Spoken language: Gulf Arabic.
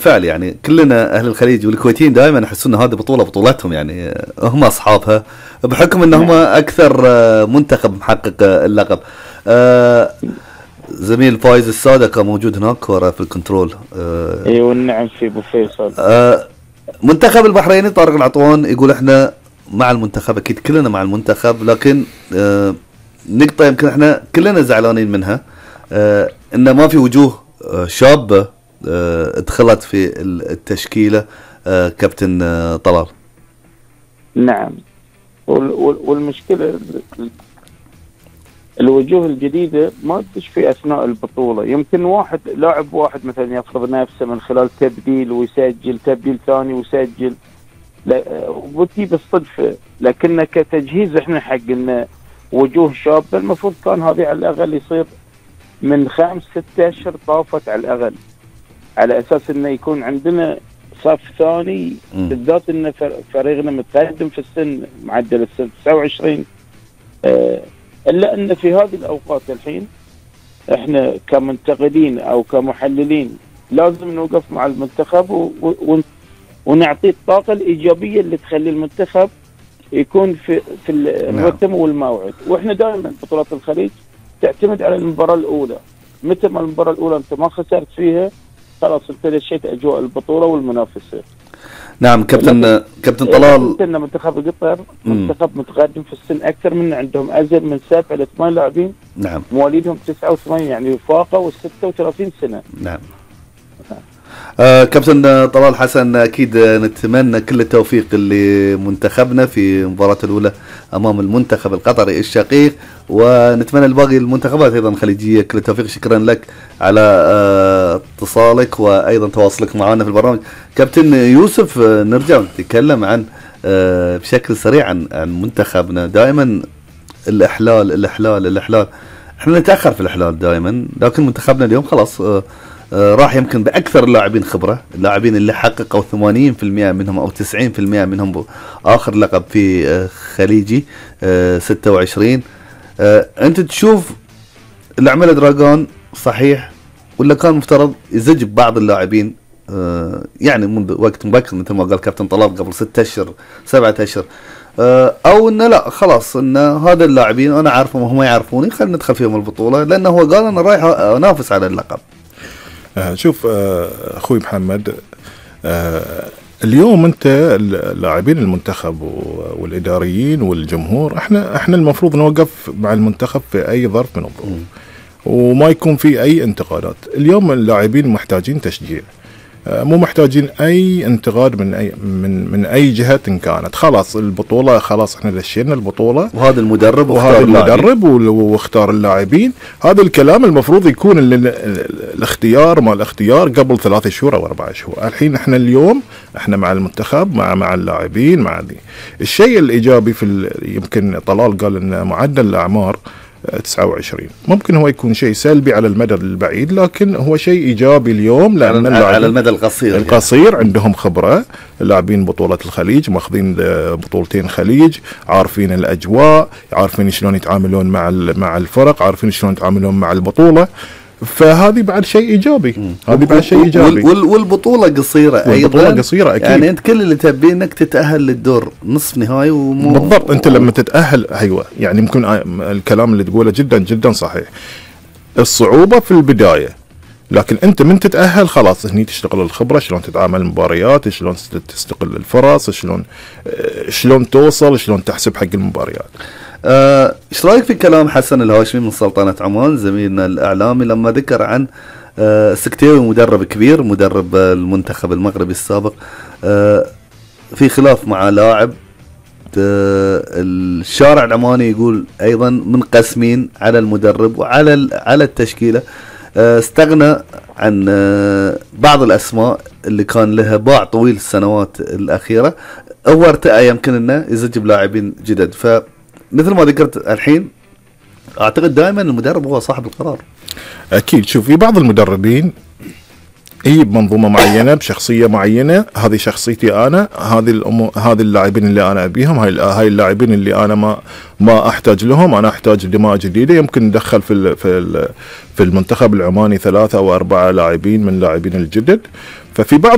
فعل يعني كلنا اهل الخليج والكويتيين دائما يحسون ان هذه بطوله بطولتهم، يعني هم اصحابها بحكم ان هم اكثر منتخب محقق اللقب. زميل فايز السادة كان موجود هناك ورا في الكنترول. ايوه نعم في ابو فيصل. منتخب البحريني طارق العطوان يقول احنا مع المنتخب، اكيد كلنا مع المنتخب، لكن نقطة يمكن احنا كلنا زعلانين منها، ان ما في وجوه شابة ادخلت في التشكيلة. كابتن طلال. نعم، والمشكلة الوجوه الجديدة ما تدش في أثناء البطولة. يمكن لاعب واحد مثلا يفرض نفسه من خلال تبديل ويسجل، تبديل ثاني ويسجل، وتجي بالصدفة. لكن كتجهيز احنا حق ان وجوه شابة المفروض كان هذه على الأقل يصير من 5-6 أشهر طافت على الأقل، على أساس انه يكون عندنا صف ثاني، بالذات ان فريقنا متقدم في السن، معدل السن 29. إلا أن في هذه الأوقات الحين إحنا كمنتقدين أو كمحللين لازم نوقف مع المنتخب ونعطيه الطاقة الإيجابية اللي تخلي المنتخب يكون في الرتم والموعد. وإحنا دائما بطولات الخليج تعتمد على المباراة الأولى. متى ما المباراة الأولى أنت ما خسرت فيها خلاص أنت دشيت أجواء البطولة والمنافسة. نعم كابتن طلال، إن منتخب قطر منتخب متقدم في السن أكثر منا، عندهم أزيد من 7 إلى 8 لاعبين. نعم، مواليدهم 89 يعني فاقوا 36 سنة. نعم. كابتن طلال حسن، أكيد نتمنى كل التوفيق لمنتخبنا في المباراة الأولى أمام المنتخب القطري الشقيق، ونتمنى لباقي المنتخبات أيضا الخليجية كل التوفيق. شكرا لك على اتصالك وأيضا تواصلك معنا في البرنامج. كابتن يوسف، نرجع نتكلم عن بشكل سريع عن منتخبنا. دائما الإحلال احنا نتأخر في الإحلال دائما، لكن منتخبنا اليوم خلاص راح يمكن بأكثر اللاعبين خبرة، اللاعبين اللي حققوا 80% منهم أو 90% منهم آخر لقب في خليجي 26. أنت تشوف اللي عمله دراغون صحيح، ولا كان مفترض يزج بعض اللاعبين يعني منذ وقت مبكر مثل ما قال كابتن طلال قبل 6 أشهر 7 أشهر، او انه لا خلاص ان هذا اللاعبين انا عارفهم وهم يعرفوني، خلينا ندخل فيهم البطولة، لانه هو قال انا رايح انافس على اللقب. شوف اخوي محمد، اليوم انت اللاعبين المنتخب والاداريين والجمهور احنا المفروض نوقف مع المنتخب في اي ظرف من الظروف، وما يكون في اي انتقادات. اليوم اللاعبين محتاجين تشجيع، مو محتاجين اي انتقاد من اي جهه إن كانت. خلاص البطوله، خلاص احنا دشينا البطوله، وهذا المدرب واختار اللاعبين. هذا الكلام المفروض يكون الاختيار ما الاختيار قبل 3 شهور او 4 شهور. الحين احنا اليوم احنا مع المنتخب مع اللاعبين مع دي. الشيء الايجابي يمكن طلال قال ان معدل الاعمار 29 ممكن هو يكون شيء سلبي على المدى البعيد، لكن هو شيء إيجابي اليوم، لأن على المدى القصير عندهم خبرة. لاعبين بطولة الخليج، ماخذين بطولتين خليج، عارفين الأجواء، عارفين شلون يتعاملون مع الفرق، عارفين شلون يتعاملون مع البطولة. فهذه بعد شيء إيجابي. والبطولة قصيرة أيضا. قصيرة أكيد. يعني أنت كل اللي تبيه إنك تتأهل للدور نصف نهائي بالضبط. أنت لما تتأهل أيوة، يعني يمكن الكلام اللي تقوله جدا جدا صحيح. الصعوبة في البداية، لكن أنت من تتأهل خلاص هني تشتغل الخبرة، شلون تتعامل المباريات، شلون تستقل الفرص، شلون توصل، شلون تحسب حق المباريات. ايش رايك في كلام حسن الهاشمي من سلطنة عمان زميلنا الاعلامي لما ذكر عن سكتيوي، مدرب كبير، مدرب المنتخب المغربي السابق، في خلاف مع لاعب، الشارع العماني يقول ايضا منقسمين على المدرب وعلى التشكيلة، استغنى عن بعض الاسماء اللي كان لها باع طويل السنوات الاخيرة، هو ارتأى يمكن انه يزج بلاعبين جدد. ف مثل ما ذكرت الحين، اعتقد دائما المدرب هو صاحب القرار. اكيد. شوف، في بعض المدربين هي بمنظومه معينه بشخصيه معينه، هذه شخصيتي انا، هذه اللاعبين اللي انا ابيهم، هاي اللاعبين اللي انا ما احتاج لهم، انا احتاج دماء جديده. يمكن ندخل في المنتخب العماني 3 أو 4 لاعبين من اللاعبين الجدد. ففي بعض